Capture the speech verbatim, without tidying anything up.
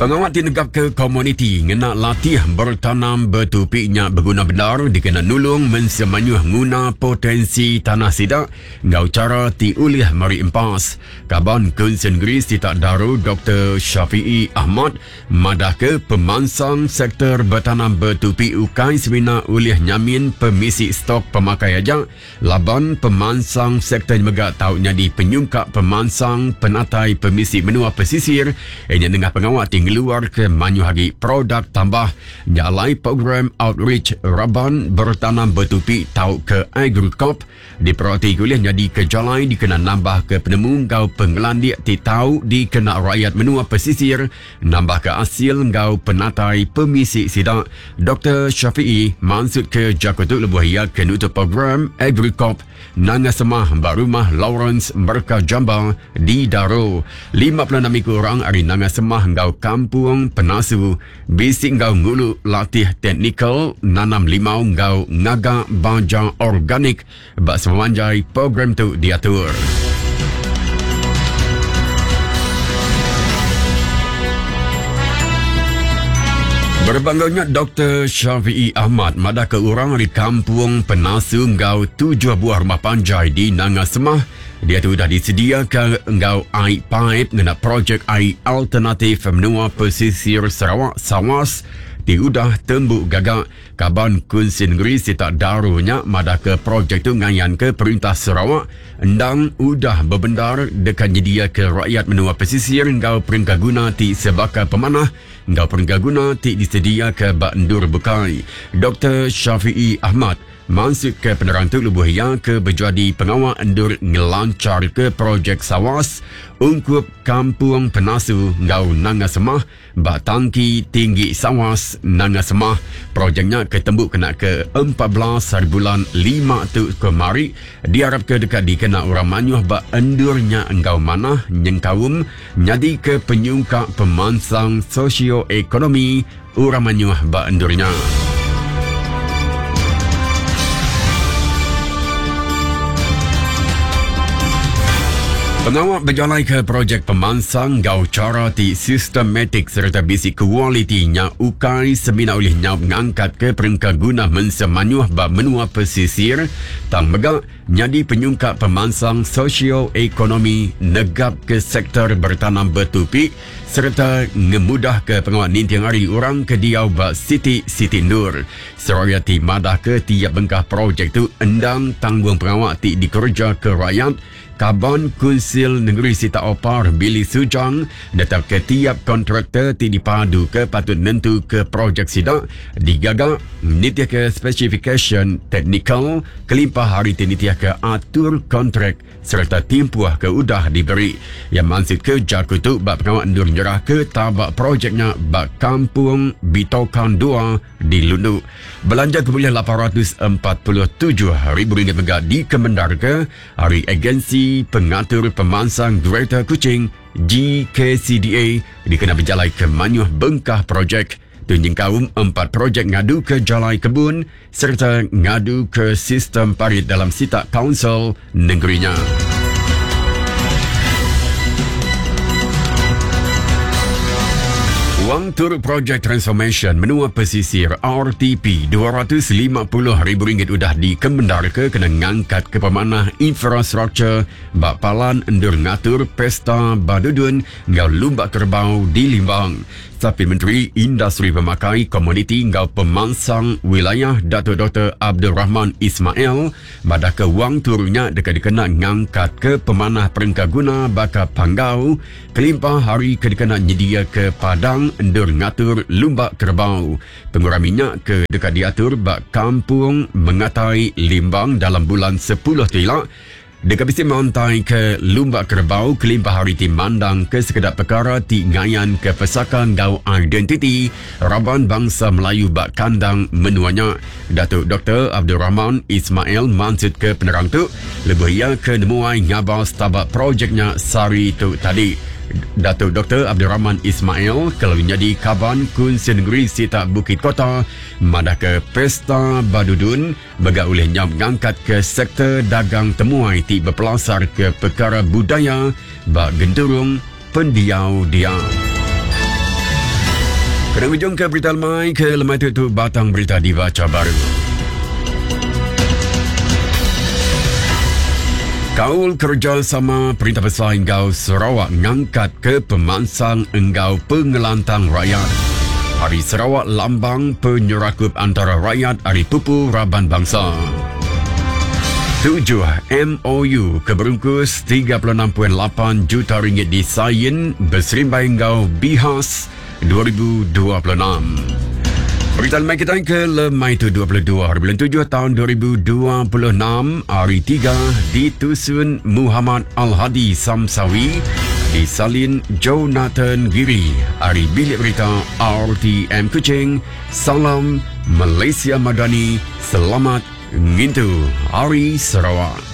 Pengawat tinegap ke komuniti ngena latih bertanam betupinya berguna benar dikena nulung mensemanyuh nguna potensi tanah sidak ngau cara ti ulih meri empas. Kaban Kunsin Negeri Sitak Daro Doktor Syafiee Ahmad madah ke pemansang sektor bertanam betupi ukai semina ulih nyamin pemisi stok pemakai aja laban pemansang sektor mega tau nyadi penyungkak pemansang penatai pemisi menua pesisir ianya nengah pengawat tinggi luar ke manyuh agi produk tambah nyalai program outreach raban bertanam betupi tau ke Agricop diperhati kuliah jadi ke jalai dikena nambah ke penemu ngau pengelandik ti tau dikena rakyat menua pesisir nambah ke hasil ngau penatai pemisi sida. Doktor Syafiee maksud ke Jakarta lebuh ia ke nutup program Agricop Nanga Semah ba rumah Lawrence Merka Jamba di Daro. lima puluh enam iku orang ari Nanga Semah ngau Kampung Penasu bisi ngau ngulu latih teknikal nanam limau ngau ngaga baja organik ba semanjai program tu diatur. Berbangganya Doktor Syafiee Ahmad madah ke orang di Kampung Penasu ngau tujuh buah rumah panjai di Nanga Semah dia tu dah disediakan ngau air pipe ngena projek air alternatif menua pesisir Sarawak Sawas ti udah tembuk gagak. Kaban Kunsin Negeri Sitak Darunya madah ke projek tu ngayan ke Perintah Sarawak endang udah berbendar dekat nyedia ke rakyat menua pesisir ngau perengka guna ti sebaka pemanah ngau perengka guna ti disedia ke bak endur bukai. Doktor Syafiee Ahmad maksud ke penerang tu lebuh ia ke berjadi pengawal endur ngelancar ke projek Sawas ungkup Kampung Penasu ngau Nanga Semah bak tangki tinggi Sawas Nanga Semah. Projeknya ketemu kena ke empat belas hari bulan lima tu kemari diharap ke dekat dikena orang manyuh bak endurnya engkau manah nyengkaum nyadi ke penyungkak pemansang sosioekonomi orang manyuh bak endurnya. Pengawal berjalai ke projek pemansang gau cara ti sistematik serta bisi kualitinya ukai semina oleh nyau ngangkat ke perengka guna mensemanyuh ba menua pesisir tang mega nyadi penyungkak pemansang sosioekonomi negap ke sektor bertanam betupi serta ngemudah ke pengawal ninting hari orang ke diau ba Siti Siti Nur. Seraya ti madah ke tiap bengkah projek tu endang tanggung pengawal ti dikerja ke rakyat. Kaban Kunsil Negeri Sitak Opar Billy Sujang netap ke tiap kontraktor ti dipadu ke patut nentu ke projek sidak digaga nitih ke specification teknikal kelimpah hari ti nitih ke atur kontrak serta timpuh ke udah diberi. Yang maksud ke jaku tu bak pengawal endur nyerah ke tabak projeknya bak Kampung Bitokan dua di Lundu. Belanja kemuliaan lapan ratus empat puluh tujuh ribu ringgit mega dikemendar ke hari Agensi Pengatur Pemansang Greater Kuching G K C D A dikena berjalai ke manyuh bengkah projek. Tunjing kaum empat projek ngadu ke jalai kebun serta ngadu ke sistem parit dalam sitak kaunsil negerinya. Wang tur projek transformation menua pesisir R T P dua ratus lima puluh ribu ringgit udah dikemendar ke kena ngangkat ke pemanah infrastruktur bak palan endur ngatur pesta badudun ngau lumba kerbau di Limbang. Tapi Menteri Industri Pemakai Komuniti ngau Pemansang Wilayah Datuk Doktor Abdul Rahman Ismail madah ke wang turunnya dekat dikena ngangkat ke pemanah perengka guna baka panggau kelimpah hari ke dikena nyedia ke padang endur ngatur lumba kerbau. Pengurang minyak ke dekat diatur bak Kampung Mengatai Limbang dalam bulan sepuluh tilak. Dekat bisi mantai ke lumba kerbau kelimpah hari ti mandang ke sekedar perkara ti ngayan ke pesaka ngau identiti raban bangsa Melayu bak kandang menuanya. Datuk Doktor Abdul Rahman Ismail maksud ke penerang tu lebih ia ke nemuai ngabas tabak projeknya sari tu tadi. Datuk Doktor Abdul Rahman Ismail kalau menjadi kaban Kunsin Negeri Sitak Bukit Kota madah ke Pesta Badudun bega oleh nyam ngangkat ke sektor dagang temuai ti berpelasar ke perkara budaya bak genturung pendiau dia. Kena ujung ke berita lemai ke lemai tu, tu batang berita dibaca baru. Kaul kerjasama Perintah Besai Enggau Sarawak ngangkat ke pemansang enggau pengelantang rakyat. Hari Sarawak lambang penyerakup antara rakyat ari pupu raban bangsa. Tujuh M O U keberungkus tiga puluh enam perpuluhan lapan juta ringgit disain berserimbai enggau Bihas dua ribu dua puluh enam. Berita lemai kita ke lemai tu dua puluh dua hari bulan tujuh tahun dua ribu dua puluh enam, hari tiga ditusun Muhammad Al-Hadi Samsawi, disalin Jonathan Giri, hari Bilik Berita R T M Kuching. Salam Malaysia Madani, selamat ngintu Hari Sarawak.